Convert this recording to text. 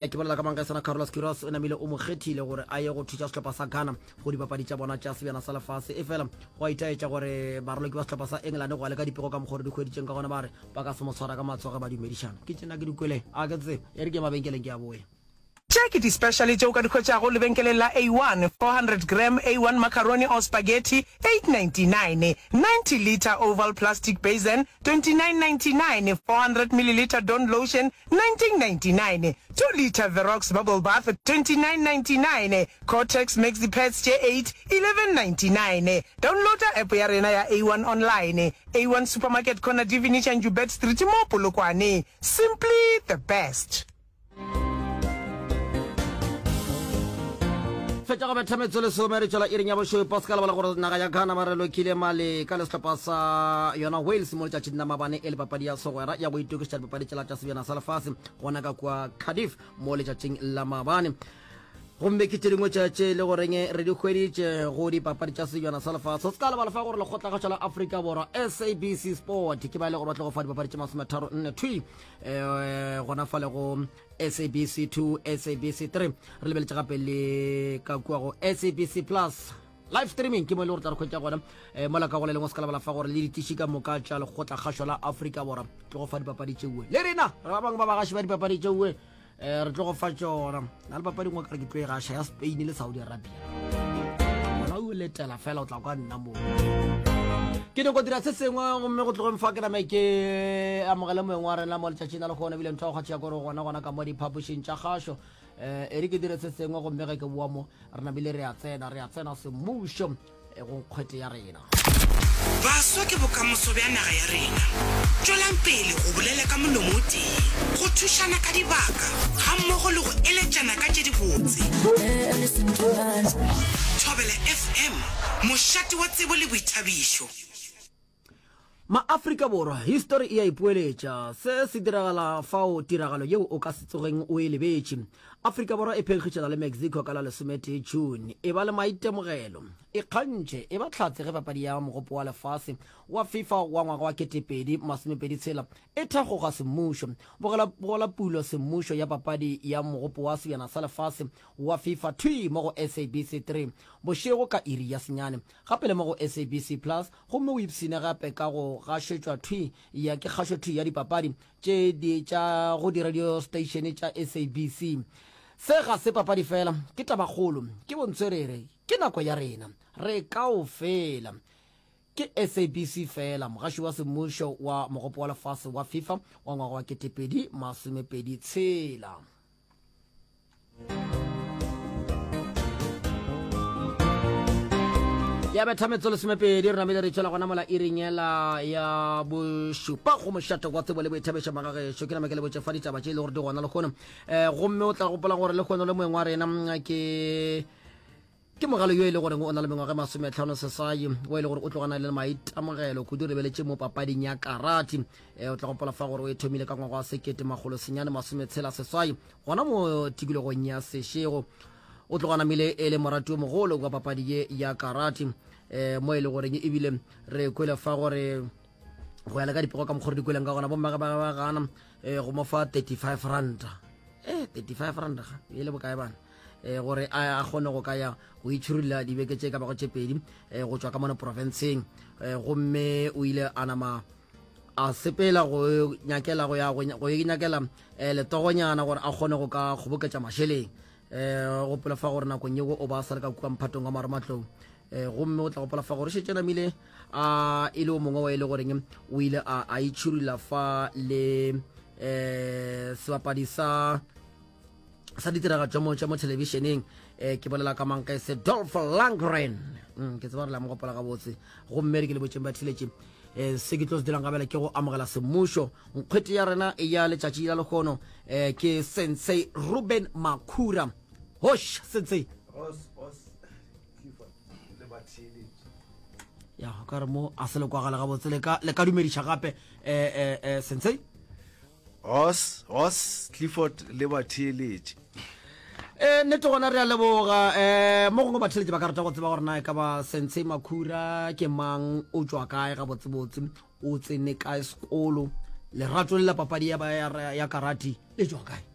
Ke bolela ka Mangesana Carlos Queiroz o namile o mo kgethile gore a ye go thuša sehlopha sa Ghana go dipapadi tša bona tša sebjana sa lefase. Efela go a itaetša gore baraloki ba sehlopha sa England go ya le ka dipego ka mokgwa re di hweditšeng ka gona ba re ba ka se mo tshwara ka matsogo ge ba dumedišana. Ke tšena ke di kwele a ke tsebe e re ke ye mabenkeleng ke a boya. Tše ke di-speciale tše o ka di hwetšago lebenkeleng la A1, 400 gram A1 macaroni or spaghetti, 8.99, 90 litre oval plastic basin, 29.99, 400 millilitre Dawn lotion, 1999, 2 litre Verox bubble bath, 29.99, Kotex maxi pads tše 8, 11.99. Downloada app ya rena ya A1 online. A1 Supermarket corner Divinica Njubert Street mo Polokwane. Simply the best. Fetša go betha metso lesome re tšwela iring ya bošupa. Se ka lebala gore naga ya Ghana ba re lokile male ka le sehlopha sa yona Wales mo letšatšing la mabane e le papadi ya segwera ya go itokišetša dipapadi tšela tša sebjana sa lefase gona ka kua Cardiff mo letšatšing la mabane. Gomme ke tše dingwe tša tše e le goreng re di hweditše go dipapadi tša sebjana sa lefase. Se ka lebala fa gore lekgotlakgašo la Afrika Borwa SABC Sport ke ba e le gore ba tlo go fa dipapadi tše masometharo nne thwi um gona fale go SABC 2, SABC 3. Re lebeletše gape le ka kua go SABC Plus live streaming ke mo e le gore tla re kgwetša gona um mola ka go le lengwe se ka lebala fa gore le ditiši ka moka tša lekgotlakgašo la Afrika Borwa tlo go fa dipapadi tšeue le rena re ba bangwe ba bagaši ba dipapadi tšeue um eh, re tlo go fa tšona na le papadi nngwe kare ke tlo e gaša ya Spain le Saudi Arabia gona o letela fela o tla kwa nna moo ke nyako dira se sengwe gomme go tlogeng fa ke name ke amogele moeng wa rena mo letšatšing la lekgono ebile ntho ya go kgatšha kore gona gona ka mo diphapošing tša kgašo um e re ke dire se sengwe gomme ge ke boa mo re namile re a tsena re a tsena semmušo eh, go nkgwete ya rena Baswa ke bokamoso bja naga ya rena. Tšwelang pele go bolela ka molomo o tee, go thušana ka dibaka gammogo le go eletšana ka tše dibotse. Thobela FM, mošate wa tsebo le boithabišo. Ma-Afrika Borwa, histori e a ipoeletša. Se se diragala fao tiragalo yeo o ka se tsogeng o e lebetše. Afrika Borwa e phenkgišana le Mexico ka la lesometee June. E ba le maitemogelo. Ikgantšhe, e ba hlatse ge papadi ya Mogopo wa Lefase wa FIFA wa ngwaga wa 2026 e thakgoga semmušo. Bogela, bogela pulo semmušo ya papadi ya Mogopo wa Sebjana sa Lefase wa FIFA thwi mo go SABC 3 bošego ka iri ya senyane. Gape le mo go SABC Plus gomme o ipshine gape ka go gašetšwa thwi ya ke kgašo thwi ya dipapadi tše di tša go di-radio station tša SABC. Se ga se papadi fela, ke tabakgolo, ke bontswerere, ke nako ya rena. Re kaofela. Ke SABC fela, mogaši wa semmušo wa Mogopo wa Lefase wa FIFA wa ngwaga wa 2026. Ya betha metso lesomepedi re namile re tšwela gona mola iring yela ya bošupa go mošate wa tsebo le boithabišo magagešo ke nama ke le botše fa ditaba tše e le gore di gona lehono um gomme o tla gopola gore lehono le moeng wa rena ke Ke mogale yo e le goreng o na le mengwaga e masometlhano seswai, o e le gore o tlogana le maitemogelo kudu re beletše mo papading ya karate. E, o tla gopola fa gore o e thomile ka ngwaga wa sekete makgolo senyane masometshela seswai gona mo tikologong ya Seshego. O tloga namile e le morati o mogolo wa papadi ye ya karate e, mo e le goreng ebile re kwele fa gore go ya le ka dipego ka mokgwa re di kweleng ka gona bommage ba ba gana e, go mo fa 35 ranta e 35 ranta ga e le bokae bana eh, gore a kgone go ka ya go itšhirulla dibeke tše ka bago tše pedi eh, go tšwa ka mono profenseng eh, gomme o ile a nama a sepela go nyakela go ya go nyakela eh, letogonyana gore a kgone go ka kgoboketša mašeleng eh gopola fa gore nakong yeo o ba sa le ka kua mphatong wa marematlou eh gomme o tla gopola fa gore šetše namile a e le o mongwe wa e le goreng o ile a a itšhirula fa le eh sebapadi sa sa ditiragatšo mo tša mo thelebišeneng um ke bolela ka mankese Dolph Lundgren mm, ke tseba gore la mo gopola gabotse gomme re ke le botšeng ba thiletše um se ke tlo se dirang gabela ke go amogela semmušo nkgwete ya rena ya letšatši la lekgono um ke sensei Ruben Makhura hosh sensei ya ka re mo a se le kwagala gabotse le ka dumediša gape um sensei Ross, Ross, Clifford le batheeletši. E, nnete gona re a leboga. E, mo gongwe batheeletši ba ka rata go tseba gore na e ka ba Sensei Makhura ke mang, o tšwa kae gabotsebotse, o tsene kae sekolo, lerato le la papadi ya, ya, ya karate le tšwa kae?